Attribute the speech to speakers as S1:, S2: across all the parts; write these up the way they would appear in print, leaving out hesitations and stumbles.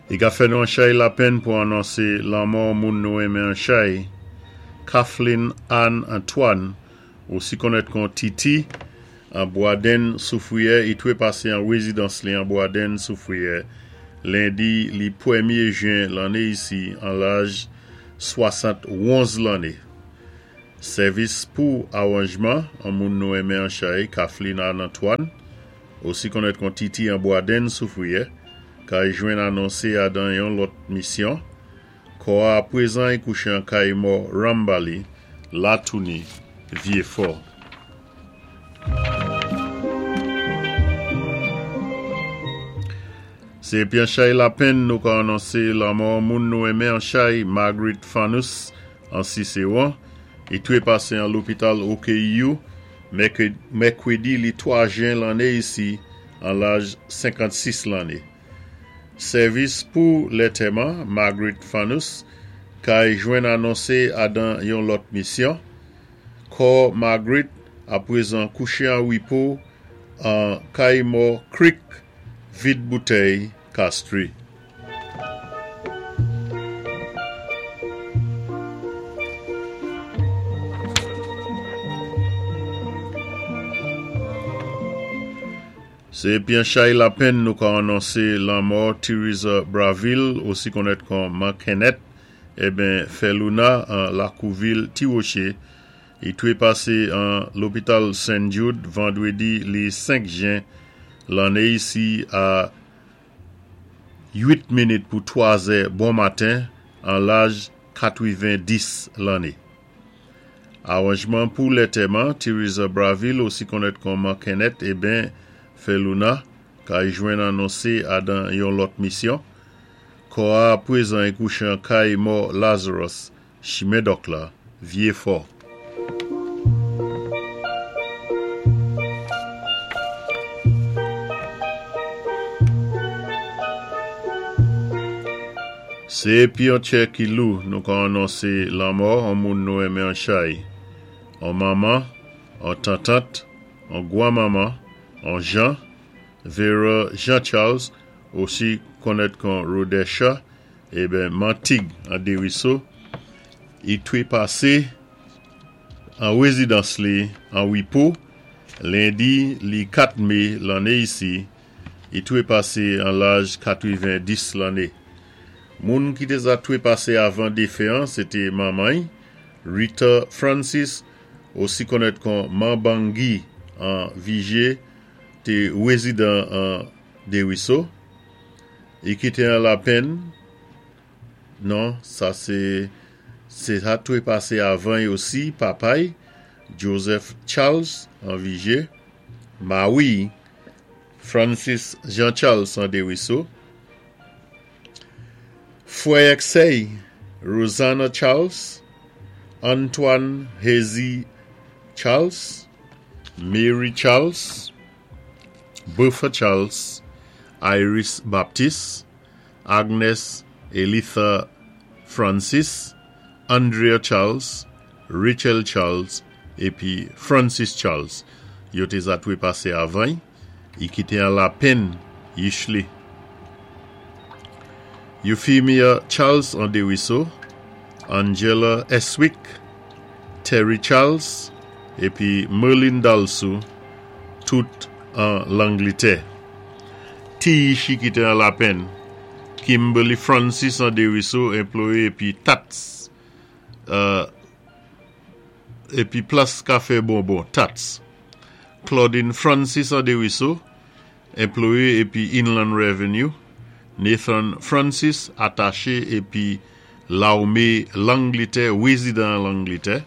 S1: I ka fè nou an chay lapenn pou anonsé lanmò moun nou enmen an chay, Kathleen Anne Antoine, osi konnèt kon Titi, an Bwadenn Soufriyè. I twé pasé an wézidans li an Bwadenn Soufriyè lendi li pwémyé jen lanné isi an laj 71 lanné. Sèvis pou awanjman an moun nou enmen an chay, Kathleen Anne Antoine, osi konnèt kon Titi an Bwadenn Soufriyè, kay jwenn anonsé a dan yon lòt misyon. Kò a apwézan i kouché an kay mò Rambali, Latouni, Vyéfò. Sé épi an chay lapenn nou ka anonsé lanmò moun nou enmen an chay, Marguerite Fanous an Sisewon. I twé pasé an lopital OKEU mèkwédi li 3 jen lanné isi an laj 56 lanné. Sèvis pou lètèman Marguerite Fanous kay jwenn anonsé a dan yon lòt misyon. Kò Marguerite apwézan kouché an wipo an kay mò Creek Vid Boutèy, Castries. Sé épi an chay lapenn nou ka anonsé lanmò Theresa Braville, osi konnèt kon Man Kenneth, eben Fèlouna an lakou vil Ti Woché. I twé pasé an lopital Saint Jude vandwédi li 5 jen lanné isi a 8 minit pou 3 zè bon maten an laj 90 lanné. Awanjman pou lètèman Theresa Braville, osi konnèt kon Man Kenneth, eben Fèlouna, kay jwenn anonsé a dan yon lòt misyon. Kò a apwézan i kouché an kay mò Lazarus, Chimen Dòk la, Vyéfò. Sé épi an tchè ki lou nou ka anonsé lanmò an moun nou enmen an chay, an manman, an tantant, an gwanmanman, an jan, Vera Jean Charles, osi konnèt kon Rodesha, eben Mantig an Deriso, i twé pasé an wézidans li an Wipo, lendi li 4 mé lanné isi, I twé pasé an laj 90 lanné. Moun ki té za twé pasé avan défen an sé té manman-y, Rita Francis, osi konnèt kon Man Bangui an Vijé, té wézidan an Dériso. I kité an lapenn, non, sa sé sé sa twé pasé avan-y osi papa-y, Joseph Charles an Vijé, mawi-y, Francis Jean Charles an Deriso, Fwè ak sè-y, Rosanna Charles, Antoine Hazy Charles, Mary Charles, Bertha Charles, Iris Baptiste, Agnes Elitha Francis, Andrea Charles, Rachel Charles épi Francis Charles. Yo té za twé pasé avan-y, i kité an lapenn yich li. Euphemia Charles an Deriso, Angela Estwick, Terry Charles épi Merlin Dalsou, tout an Langlitè. Ti yich i kité an lapenn, Kimberly Francis an Deriso, enployé épi Tats épi Plas Kafé Bonbon, Tats. Claudine Francis an Deriso, enployé épi Inland Revenue. Nathan Francis, ataché épi Lawmé Langlitè, wézidan an Langlitè.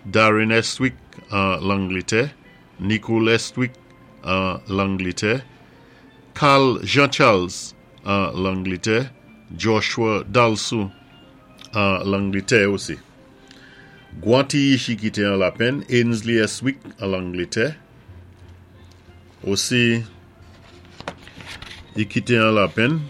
S1: Darren Estwick an Langlitè. Nicole Estwick an Langlitè. Carl Jean Charles an Langlitè. Joshua Dalsou an Langlitè osi. Gwan ti yich i kité an lapenn, Ainsley Estwick an Langlitè. Osi i kité an lapenn.